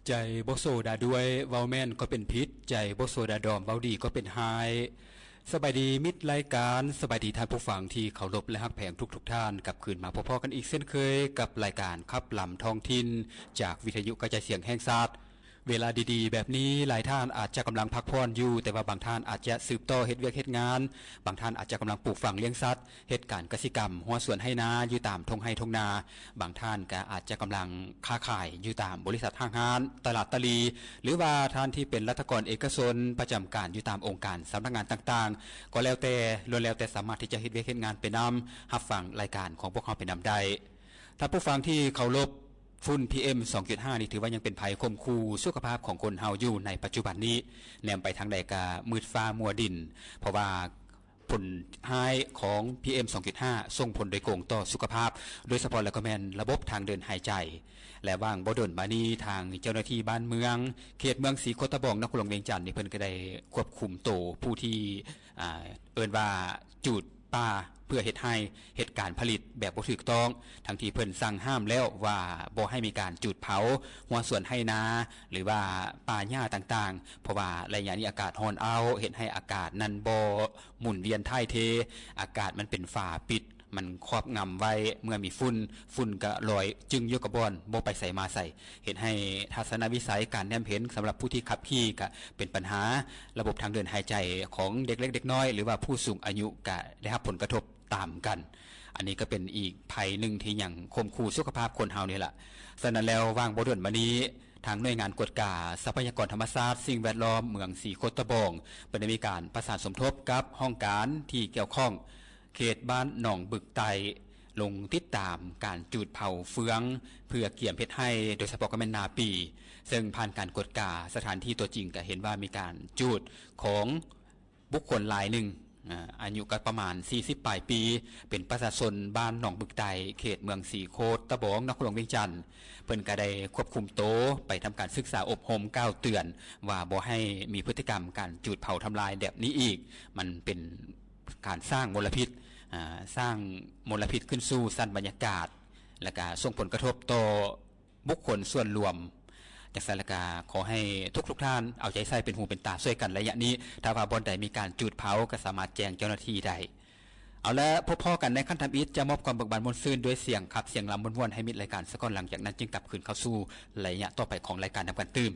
ໃຈບໍ່ໂຊດາດ້ວຍ ເວົ້າແມ່ນກໍເປັນຜິດ, ໃຈບໍ່ໂຊດາດອມ ເວົ້າດີກໍເປັນຮ້າຍ. ສະບາຍດີມິດລາຍການ, ສະບາຍດີທ່ານຜູ້ຟັງທີ່ເຄົາລົບ ແລະ ຮັກແພງທຸກໆທ່ານ, ກັບຄືນມາພົບພໍ້ກັນອີກເຊັ່ນເຄີຍ ກັບລາຍການຂັບລຳທ້ອງຖິ່ນ ຈາກວິທະຍຸກະຈາຍສຽງແຫ່ງຊາດ. ເວລາດີໆແບບນີ້ ຫຼາຍທ່ານອາດຈະກຳລັງພັກຜ່ອນຢູ່, ແຕ່ວ່າບາງທ່ານອາດຈະສືບຕໍ່ເຮັດວຽກເຮັດງານ, ບາງທ່ານອາດຈະກຳລັງປູກຝັງລ້ຽງສັດ, ເຮັດການກະສິກຳ, ຮົ້ວສວນໄຮ່ນາຢູ່ຕາມທົ່ງໄຮ່ທົ່ງນາ, ບາງທ່ານກໍອາດຈະກຳລັງຄ້າຂາຍຢູ່ຕາມບໍລິສັດຫ້າງຮ້ານ, ຕະຫຼາດຕະຫຼີ່ ຫຼືວ່າທ່ານທີ່ເປັນລັດຖະກອນເອກະຊົນ ປະຈຳການຢູ່ຕາມອົງການສຳນັກງານຕ່າງໆ ກໍແລ້ວແຕ່, ລ້ວນແລ້ວແຕ່ສາມາດທີ່ຈະເຮັດວຽກເຮັດງານໄປນຳ, ຮັບຟັງລາຍການຂອງພວກເຮົາໄປນຳໄດ້. ທ່ານຜູ້ຟັງທີ່ເຄົາລົບ, ຝຸ່ນ ພີເອັມ ສອງຈຸດຫ້າ ນີ້ຖືວ່າຍັງເປັນໄພຂົ່ມຂູ່ສຸຂະພາບຂອງຄົນເຮົາຢູ່ໃນປັດຈຸບັນນີ້. ແນມໄປທາງໃດກະມືດຟ້າມົວດິນ, ເພາະວ່າຜົນຮ້າຍຂອງ ພີເອັມ ສອງຈຸດຫ້າ ສົ່ງຜົນໂດຍກົງຕໍ່ສຸຂະພາບ, ໂດຍສະເພາະແລ້ວກໍແມ່ນລະບົບທາງເດີນຫາຍໃຈ. ແລະ ຫວ່າງບໍ່ດົນມານີ້ ທາງເຈົ້າໜ້າທີ່ບ້ານເມືອງ ເຂດເມືອງສີໂຄດຕະບອງ ນະຄອນຫຼວງວຽງຈັນນີ້ ເພິ່ນກໍໄດ້ຄວບຄຸມໂຕຜູ້ທີ່ ອ່າ ເອີ້ນວ່າຈູດປ່າເພື່ອເຮັດໄຮ່ ເຮັດການຜະລິດແບບບໍ່ຖືກຕ້ອງ, ທັງທີ່ເພິ່ນສັ່ງຫ້າມແລ້ວວ່າບໍ່ໃຫ້ມີການຈູດເຜົາຮົ້ວສວນໄຮ່ນາ ຫຼືວ່າປ່າຫຍ້າຕ່າງໆ, ເພາະວ່າໄລຍະນີ້ອາກາດຮ້ອນອ້າວ ເຮັດໃຫ້ອາກາດນັ້ນບໍ່ໝູນວຽນຖ່າຍເທ, ອາກາດມັນເປັນຝາປິດ, ມັນຄອບງຳໄວ້, ເມື່ອມີຝຸ່ນ, ຝຸ່ນກໍລອຍຈຶ້ງຢູ່ກັບບ່ອນ, ບໍ່ໄປໃສມາໃສ. ເຮັດໃຫ້ທັດສະນະວິໄສການແນມເຫັນສຳລັບຜູ້ທີ່ຂັບຂີ່ກະເປັນບັນຫາ, ລະບົບທາງເດີນຫາຍໃຈຂອງເດັກເລັກເດັກນ້ອຍ ຫຼືວ່າຜູ້ສູງອາຍຸກະໄດ້ຮັບຜົນກະທົບຕາມກັນ. ອັນນີ້ກໍເປັນອີກໄພໜຶ່ງທີ່ຍັງຂົ່ມຂູ່ສຸຂະພາບຄົນເຮົານີ້ລະ. ສະນັ້ນແລ້ວ ຫວ່າງບໍ່ດົນມານີ້ ທາງໜ່ວຍງານກວດກາຊັບພະຍາກອນທຳມະຊາດ ສິ່ງແວດລ້ອມເມືອງສີໂຄດຕະບອງ ເພິ່ນໄດ້ມີການປະສານສົມທົບກັບຫ້ອງການທີ່ກ່ຽວຂ້ອງ ເຂດບ້ານໜອງບຶກໃຕ້ ລົງຕິດຕາມການຈູດເຜົາເຟືອງເພື່ອກຽມເຮັດໄຮ່, ໂດຍສະເພາະກໍແມ່ນນາປີ, ເຊິ່ງຜ່ານການກວດກາສະຖານທີ່ຕົວຈິງກໍເຫັນວ່າມີການຈູດຂອງບຸກຄົນລາຍໜຶ່ງ, ອາ ອາຍຸກໍປະມານສີ່ສິບປາຍປີ, ເປັນປະຊາຊົນບ້ານໜອງບຶກໃຕ້ ເຂດເມືອງສີໂຄດຕະບອງ ນະຄອນຫຼວງວຽງຈັນ. ເພິ່ນກໍໄດ້ຄວບຄຸມໂຕໄປທຳການສຶກສາອົບຮົມກ່າວເຕືອນວ່າບໍ່ໃຫ້ມີພຶດຕິກຳການຈູດເຜົາທຳລາຍແບບນີ້ອີກ, ມັນເປັນ ການສ້າງມົນລະພິດ, ອາ, ສ້າງມົນລະພິດຂຶ້ນສູ່ຊັ້ນບັນຍາກາດ, ແລະກະສົ່ງຜົນກະທົບຕໍ່ບຸກຄົນສ່ວນລວມ. ຈັ່ງຊັ້ນແລ້ວກະ ຂໍໃຫ້ທຸກໆທ່ານເອົາໃຈໃສ່ເປັນຫູເປັນຕາຊ່ວຍກັນໄລຍະນີ້. ຖ້າວ່າບ່ອນໃດມີການຈູດເຜົາ ກະສາມາດແຈ້ງເຈົ້າໜ້າທີ່ໄດ້. ເອົາລະ, ພົບພໍ້ກັນໃນຂັ້ນທຳອິດ, ຈະມອບຄວາມເບີກບານມ່ວນຊື່ນດ້ວຍສຽງຂັບສຽງລຳມ່ວນໆ ໃຫ້ມິດລາຍການສາກ່ອນ, ຫຼັງຈາກນັ້ນຈຶ່ງກັບຄືນເຂົ້າສູ່ໄລຍະຕໍ່ໄປຂອງລາຍການນຳກັນຕື່ມ.